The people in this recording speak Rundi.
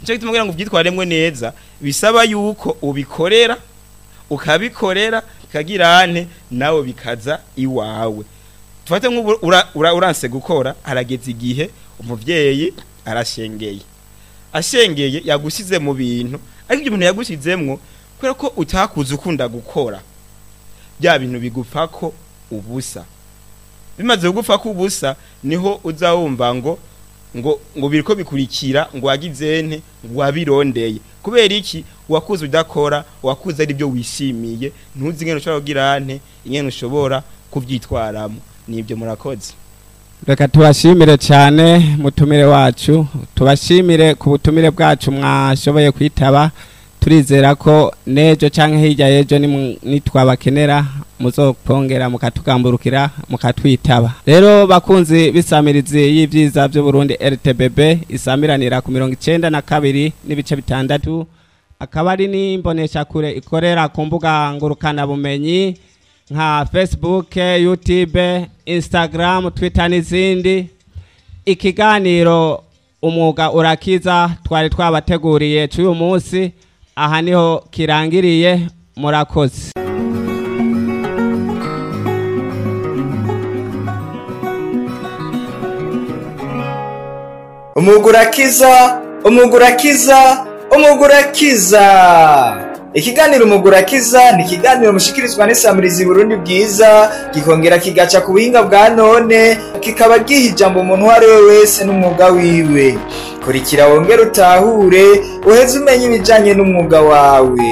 Nico gituma kugira ngo uvyitwaremwo neza bisaba yuko ubikorera, ukabikorera kagirane nawe bikaza iwawe. Tufate nk'ubu uranse gukora, harageze igihe umuvyeyi arashengeye, ashengeye yagusize mu bintu, ariko ibyo bintu yagushizemwo kubera ko utakuze ukunda gukora, bya bintu bigupfako ubusa. Bimaze kugupfako ubusa niho uza wumva ngo biriko bikurikira, ngo wagizente, ngo wabirondeye. Kubera iki? Wakuze udakora, wakuze ari byo wishimiye, ntuzi ingene ushobora kugira nte, ingene ushobora kuvyitwaramo. Nibyo, murakoze. Reka tubashimire cyane mutumire wacu, tubashimire ku butumire bwacu mwashoboye kwitaba. Turizera ko n'ejo cyangwa hirya y'ejo nitwabakenera muzokongera mukatugamburukira mukatwitaba. Rero bakunzi b'isamirizi y'ibyiza by'Uburundi RTBB isamiranira ku 92.6, akaba ari n'imboneshakure ikorera ku mbuga ngurukanabumenyi nka Facebook, YouTube, Instagram, Twitter n'izindi. Ikiganiro Umwuga Urakiza twari twabateguriye cy'uyu munsi aha niho kirangiriye. Murakoze. Umwuga urakiza, umwuga urakiza, umwuga urakiza. Ikiganiro Umwuga Urakiza ni ikiganiro mushikirizwa n'isamirizi Burundi Bwiza, gikongera kigaca ku buhinga bwa none, kikaba giha ijambo umuntu uwo ari we wese n'umwuga wiwe. Kurikira wongere utahure, uheze umenye ibijanye n'umwuga wawe.